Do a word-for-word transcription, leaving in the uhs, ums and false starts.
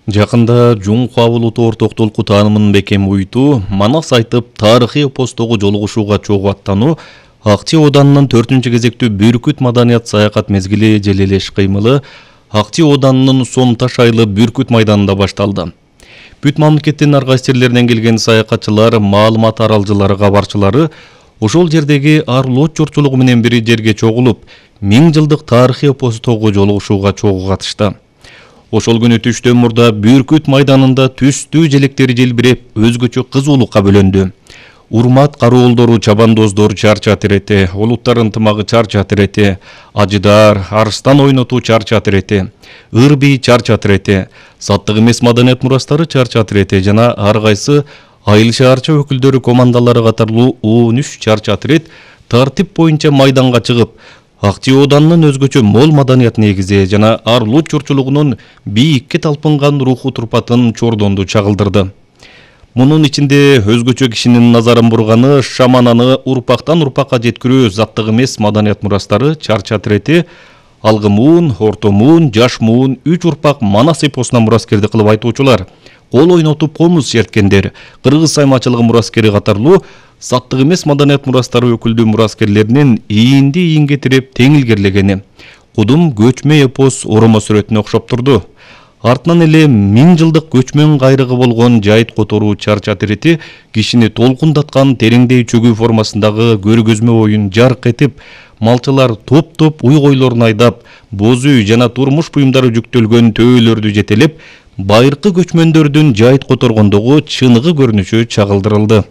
Жакында Жуңку абулуту орток толку таанымын бекем уйтуу, манас айтып тарыхый эпостогу жолугушууга чогуу аттануу, Акчи Оданынын төртүнчү кезектүү Бүркүт маданият саякат мезгили жел эле иш кыймылы Акчи Оданынын Сом Таш айлы Бүркүт майданында башталды. Бүт мамлекеттин ар кайсы жерлеринен келген саякатчылар, маалымат аралжылары, кабарчылары ошол жердеги арлоот журтчулугу менен бири жерге чогулуп, миң жылдык тарыхый эпостогу жолугушууга чогуу катышты. Ошол күнү түштөн мурда Бүркүт майданында түстүү желектери желбиреп, өзгөчө кызуулукка бөлөндү. Урмат кароолдору, чабандоздор чарча терети, улуттар ынтымагы чарча терети, ажыдар, арстан ойнотуу чарча терети, ырби чарча терети, саттык эмес маданият мурастары чарча терети жана ар кайсы айыл шаарча өкүлдөрү командалары катарлуу он үч чарча терет тартип боюнча майданга чыгып, Акчи Оданынын өзгөчө мол маданият негизи жана арлоот журтчулугунун бийикке талпынган руху турпатын чордонду чагылдырды. Мунун ичинде өзгөчө кишинин назарын бурганы шамананы урпактан урпакка жеткирүү заттык эмес маданият мурастары чарча терети, алгы муун, орто муун, жаш муун, үч урпак манас эпосуна мураскерди кылып айтуучулар, кол ойнотуп комуз черткендер, кыргыз саймачылыгы мураскери катарлуу саттык эмес маданият мурастары өкүлдүү мураскерлеринин ийинди ийинге тирип тең илгерлегени кудум көчмө эпос оромо сүрөтүнө окшоп турду. Артынан эле миң жылдык көчмөн кайрыгы болгон жайыт которуу чарча терети кишини толкундаткан тереңдей чөгүү формасындагы көргөзмө оюн жарк этип, малчылар топ-топ уй-койлорун айдап, боз үй жана турмуш буюмдары жүктөлгөн төөлөрдү жетелеп, байыркы көчмөндөрдүн жайыт которгондогу чыныгы көрүнүшү чагылдырылды.